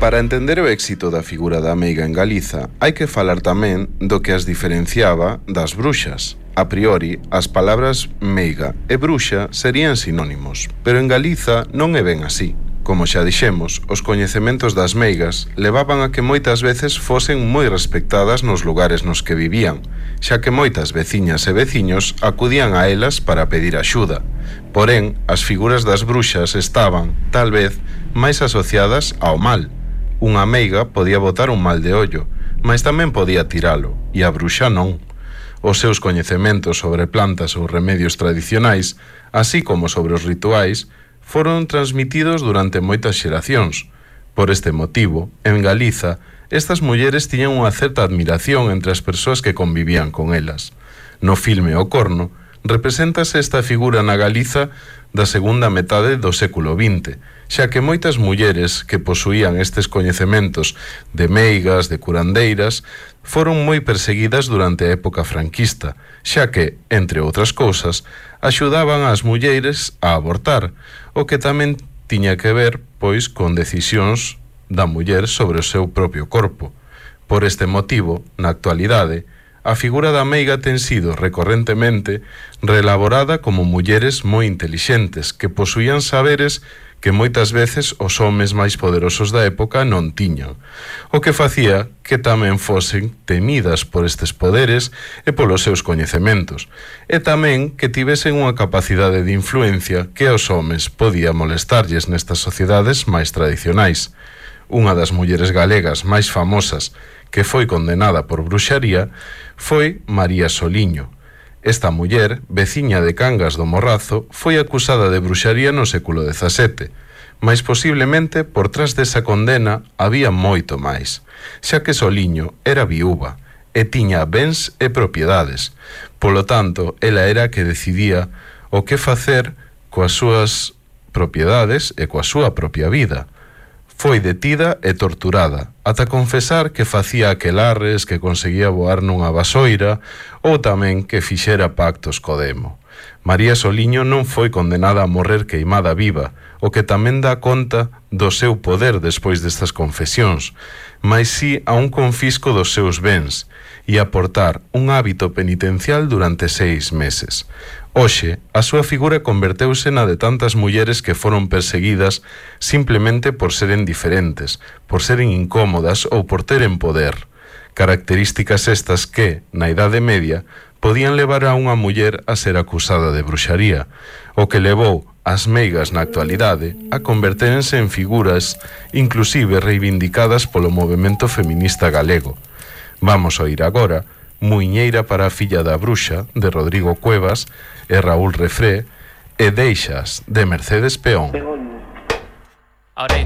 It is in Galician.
Para entender o éxito da figura da meiga en Galiza, hai que falar tamén do que as diferenciaba das bruxas. A priori, as palabras meiga e bruxa serían sinónimos, pero en Galiza non é ben así. Como xa dixemos, os coñecementos das meigas levaban a que moitas veces fosen moi respectadas nos lugares nos que vivían, xa que moitas veciñas e veciños acudían a elas para pedir axuda. Porén, as figuras das bruxas estaban, tal vez, máis asociadas ao mal. Unha meiga podía botar un mal de ollo, mas tamén podía tiralo, e a bruxa non. Os seus coñecementos sobre plantas ou remedios tradicionais, así como sobre os rituais, foron transmitidos durante moitas xeracións. Por este motivo, en Galiza, estas mulleres tiñan unha certa admiración entre as persoas que convivían con elas. No filme O Corno, represéntase esta figura na Galiza da segunda metade do século XX, xa que moitas mulleres que posuían estes coñecementos de meigas, de curandeiras, foron moi perseguidas durante a época franquista, xa que, entre outras cousas, axudaban ás mulleres a abortar, o que tamén tiña que ver, pois, con decisións da muller sobre o seu propio corpo. Por este motivo, na actualidade, a figura da meiga ten sido recorrentemente reelaborada como mulleres moi intelixentes que posuían saberes que moitas veces os homes máis poderosos da época non tiñan, o que facía que tamén fosen temidas por estes poderes e polos seus coñecementos, e tamén que tivesen unha capacidade de influencia que aos homes podía molestarlles nestas sociedades máis tradicionais. Unha das mulleres galegas máis famosas que foi condenada por bruxaría foi María Soliño. Esta muller, veciña de Cangas do Morrazo, foi acusada de bruxaría no século XVII, mas posiblemente por trás desa condena había moito máis, xa que Soliño era viúva e tiña bens e propiedades. Polo tanto, ela era a que decidía o que facer coas súas propiedades e coa súa propia vida. Foi detida e torturada, ata confesar que facía aquelarres, que conseguía voar nunha vasoira ou tamén que fixera pactos co demo. María Soliño non foi condenada a morrer queimada viva, o que tamén dá conta do seu poder despois destas confesións, mas si a un confisco dos seus bens e a portar un hábito penitencial durante 6 meses. Hoxe, a súa figura converteuse na de tantas mulleres que foron perseguidas simplemente por seren diferentes, por seren incómodas ou por teren poder. Características estas que, na Idade Media, podían levar a unha muller a ser acusada de bruxaría, o que levou as meigas na actualidade a convertérense en figuras inclusive reivindicadas polo movemento feminista galego. Vamos oír agora Muiñeira para a filla da bruxa, de Rodrigo Cuevas e Raúl Refré, e Deixas, de Mercedes Peón. Ahora